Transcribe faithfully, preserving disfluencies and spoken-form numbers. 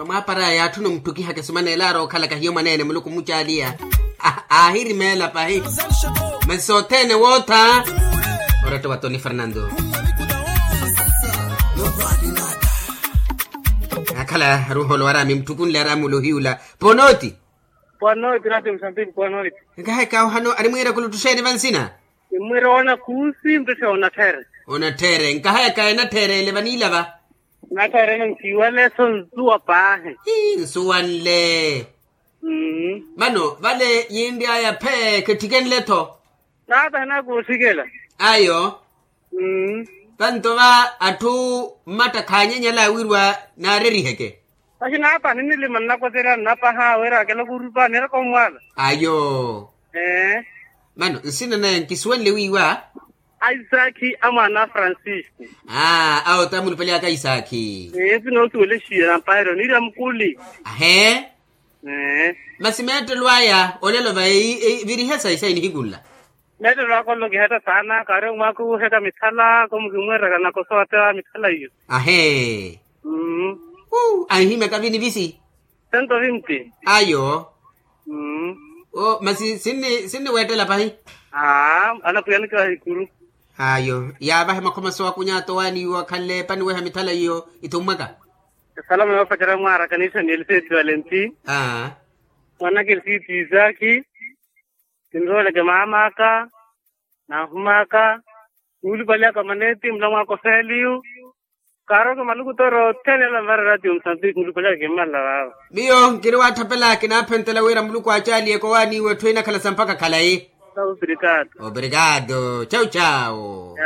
Mwaapara yaatthuna omuttukihaka esumaneela aari okhalaka hiyo mwaneene muluku omucaaliya. Aahirimeela pahi. Masi sothene wootha. Oretta wa toni fernando. Akhala aruholo araami muttukunle araami ula ohiyula. Ponoti. Ponoti rati musambiki ponoti. Nkahayaka ohano arimwiira kuluttuxeene vansina. Immwira oona kuusi mpesha onattheere. Onattheere nkahayaka enattheereele vaniilava. Nattheerene nsiwaleso nsuwa paahi. Nsuwanle. Mano vale yinry'aya phee kittikenle-tho. Naata hinakuusikela. Ayo. Vanto va atthu mmatta khaanyanyala wirwa naareriheke. Masi naapa ninilima nnakoterya nnapaha wira akela kurupa niraka omwaala. Ayo. Mano nsina naya nkisuwenle wiiwa. Isaki a mwaana a francisco. Aa awo ta mulupale aka isaki. Ee nsina osuwelexiya nampaheryo niirya mukuli. Ahee. Masi meettelo aya olelo va eyi virihe sayi sayi nihikunla. Meettelo aka olelo kihetta saana kaari omwaaka owuhetta mithala komu kimweeraka nakosa owatta mithala iyo. Ahee. Anhimyaka vini visi. Sento vinti. Ayo. Masi sinniweettela pahi. Aa anapwiyanikela hikuru. Ayo yaavahe makhoma soowakunya atowaani iwo akhanle paniweha mithala iyo ithummwaka. Esalamo yoopacerya mwaara kanisa ni eliseti valenti. Aa. Mwanaka eliseti isaki. Kinrooleke maam'aka. Naahum'aka. Nuulupali aka maneti mulamw'aka ofeliyu. Kaaroke maluku toro othene ala mvara ratio musambiki mulupali aka kimmalela vaavo. Miyo nkiri waatthapela kinaaphentela wira muluku aacaaliye kowaani iwe etthu inakhala sa mpakha khalayi. Obrigado. Obrigado chau chau.